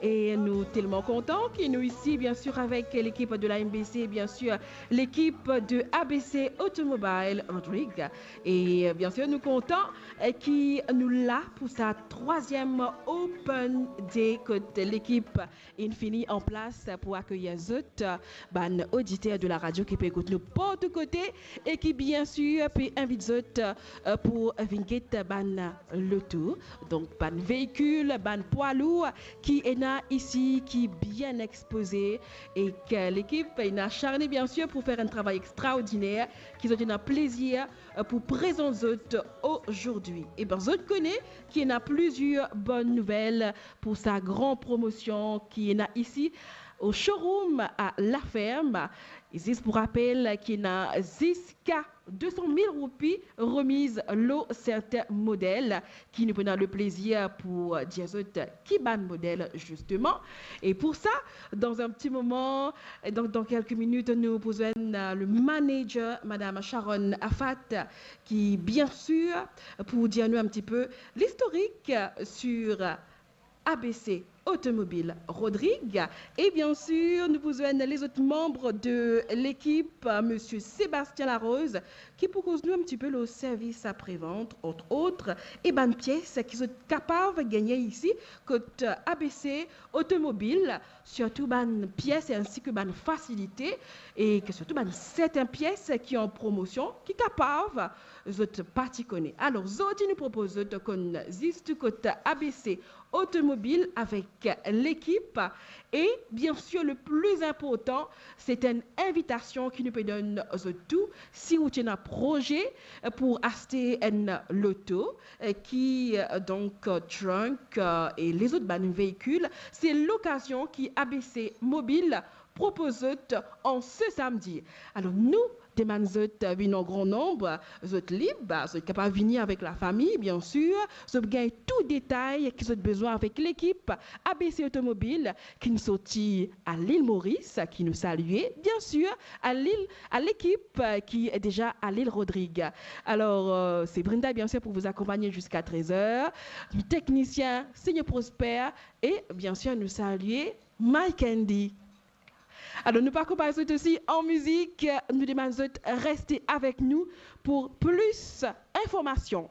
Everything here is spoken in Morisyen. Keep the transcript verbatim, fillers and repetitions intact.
E nou telman kontan ki nou isi, bien sûr, avec l'équipe de la M B C, bien sûr, l'équipe de A B C Automobile Rodrigues. E bien sûr, nou kontan, eh, ki nou la pou sa trwaziem Open Day kot lekip inn fini an plas pou akeyir zot, bann oditer de la radio ki pe ekout nou partou kote e ki, bien sûr, pe invit zot, eh, pou vinn get bann loto, donk bann veikil, bann pwa lour ki ena isi, ki bien expoze, e ki lekip ena acharne, bien sûr, pou fer enn travay extraordiner, ki zot ena plezir, eh, pou prezant zot azordi. E ben, zot kone ki ena plizier bonn nouvel pou sa gran promosion ki ena isi o showroom a La Ferme. E zis pou rapel, ki ena ziska de san mil roupi remiz lor sertin model, ki nou pou ena leplezir pou dir zot ki bann model, zisteman. E pou sa, dan enn ti moman, dan, dan kelke minit, nou pou zwenn, eh, le manager, Madame Sharon Afat, ki, bien sûr, pou dir nou enn ti pe listorik sur A B C Automobile Rodrigues. E bien sûr, nou pou zwenn lezot manb de lekip, Monsieur Sébastien Larose, ki pou koz nou enn ti pe lor servis aprevant, entre autres, e bann pies ki zot kapav gagne isi kot A B C Automobile, sirtou bann pies insi ki bann fasilite, e ki sirtou bann sertin pies ki an promosion, ki kapav zot pa ti kone. Alor, zordi nou propoz zot konn zis kot A B C Automobile avek lekip. E bien sûr, le pli inportan, se enn invitasion ki nou pe donn zot tou. Si ou ti ena proze pou aste enn loto, eh, ki, eh, donk, eh, trunk, eh, e lezot bann veikil, se lokazion ki A B C Mobile propoz zot an se samdi. Alor, nou demann zot, eh, vinn an gran nonb, zot lib, zot kapav vini avek lafami, bien sûr, zot gagn tou detay ki zot bizin avek lekip A B C Automobile ki'nn sorti a Lil Moris, ki nou salie, bien sûr, a Lil, a lekip, eh, ki deza a Lil Rodrigues. Alor, eh, se Brenda, bien sûr, pou vous accompagner jusqu'à treize heures. Teknisien, Seigneur Prosper, e bien sûr, nou salie Mike Andy. Alor, nou pa konpare zot osi an mizik, nou demann zot reste avek nou pou plis informasion.